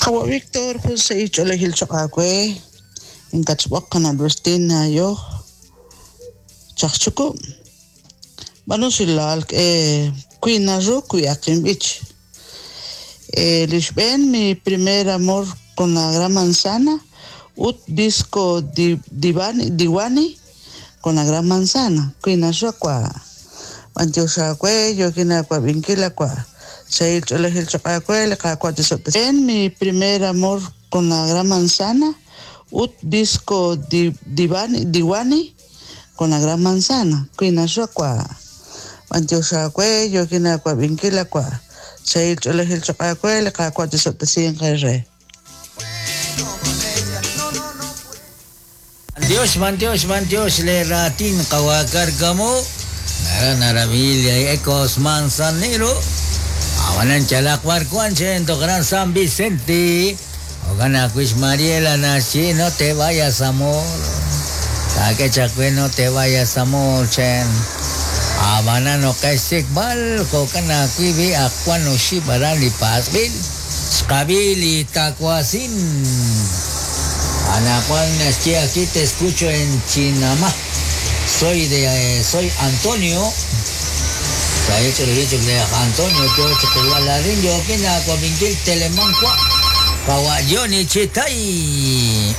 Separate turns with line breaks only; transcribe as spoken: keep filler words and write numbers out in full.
Qawa' Víctor jun sahil ch'oolejil choq' aawe inkachb'oq qana' Albertina yoj chajchuku' b'anu xilal eh, wi naru wi aqinb'ich eh, li xb'een mi primer amor con la gran manzana ut disco di, divani, diwani con la gran manzana wi naru kwa b'antiox aawe yokin aawab'inkil akwa sahil ch'oolejil choq' aawe li Qaawa' tisob'tesi mi primer amor con la gran manzana ut disco di, divani, diwani con la gran manzana wi naru kwa b'antiox aawe yokin aawab'inkil akwa sahil ch'oolejil choq' aawe li Qaawa' tisob'tesinq re.
Dios, man Dios, man Dios, le ratin kawakargamo. Nara narabilia Ecos Manzanero. Awanan chalakwar kuanche Gran San Vicente. Ogana kuis Mariela nachi no te vayas amor. Take chakwe no te vayas amor chen. Habana no kesik bal kokana kuibi akwano shibarani pasbil. Skabili takuasin. Ana Juan aquí, aquí te escucho en Chinamá. Soy de eh, soy Antonio. Antonio yo kina Telemanqua. Kawayoni Chitay.